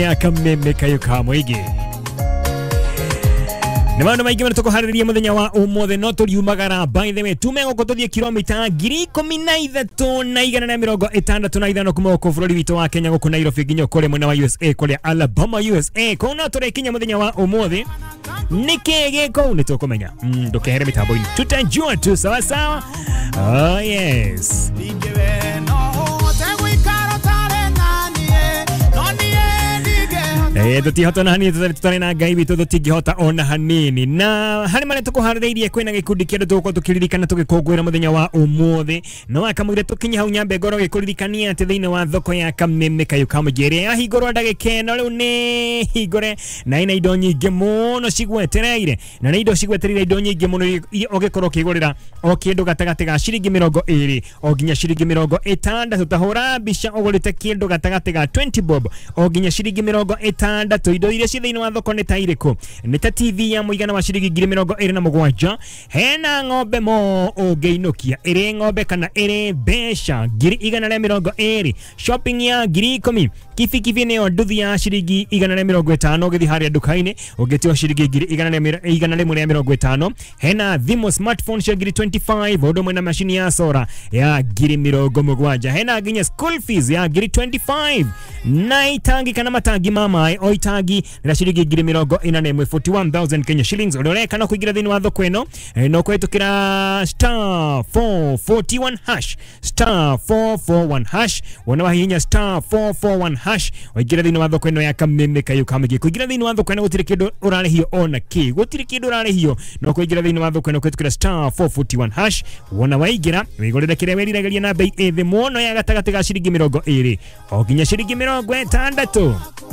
Ya kameme kayo ka mũingĩ nĩ maũndũ maingĩ mũno tũkũharĩrĩria mũthenya wa ũmũthĩ no tũriumagara. By the way, tume gũkũ tũthiĩ kilomita 13,165 kuma gũkũ bũrũri witũ wa Kenya, gũkũ Nairobi nginya kũrĩa mwena wa USA, kũrĩa Alabama, USA. Kũu no tũrĩkinya mũthenya wa ũmũthĩ. Nĩkĩ gĩ kũu nĩ tũkũmenya. Ndũkehere mĩtambo-inĩ, tutajua tu. Sawa sawa. Oh yes. Tũtihota na hanini tũtarĩ na Ngai witũ, tũtingĩhota ona hanini. Na harĩ marĩa tũkũharĩrĩirie, kwĩna gĩkundi kĩa andũ tũgũkorwo tũkĩririkana tũgĩkũngũĩra mũthenya wa ũmũthĩ. No akamũire tũkinye hau, nyambe ngorwo gĩkũririkania atĩ thĩinĩ wa thoko ya Kameme Kayũ ka Mũingĩ ĩrĩa yahingũrwo ndagĩka ĩno rĩu nĩ hingũre na ina indo nyingĩ mũno cigwetereire, na nĩ indo cigwetereire, indo nyingĩ mũno iria ũngĩkorwo ũkĩgũrĩra o kĩndũ gatagatĩ ga ciringi 20 o nginya ciringi 60. Ta hũra mbica ũgũrĩte kĩndũ gatagatĩ ga 20 bob o nginya ciringi 60. Indo iria ciĩ thĩinĩ wa thoko nĩ ta irĩkũ? Nĩ ta TV ya mũigana wa ciringi 27,000. Hena ng'ombe mo ũngĩinũkia, ĩrĩ ng'ombe kana ĩrĩ mbeca 120,000. Shopping ya 10,000. Kibikibi nĩyo nduthi ya ciringi 150, ũgĩthiĩ harĩa nduka-inĩ ũngĩtio ciringi 150,000. Hena thimũ smartphone cia 25,000, ũndũ ũmwe na macini ya sora ya 70,000. Hena nginya school fees ya 25,000 na itangi kana matangi ma maĩ, o itangi rĩa ciringi 41,000, 41,000 Kenya shillings. Ũrĩa ũreka no kũingĩra thĩinĩ wa thoko ĩno, no kũhĩtũkĩra star 441 hash, star 441 hash. Wona wahihinya star 441 hash, waingĩra thĩinĩ wa thoko ĩno ya Kameme Kayũ ka Mũingĩ. Kũingĩra thĩinĩ wa thoko ĩno gũtirĩ kĩndũ ũrarĩhio ona kĩ, gũtirĩ kĩndũ ũrarĩhio, no kũingĩra thĩinĩ wa thoko ĩno kũhĩtũkĩra star 441 hash. Wona waingĩra, wĩgũrĩre kĩrĩa wĩriragĩria na bei ĩ thĩ mũno ya gatagatĩ ga ciringi 20 o nginya ciringi 60.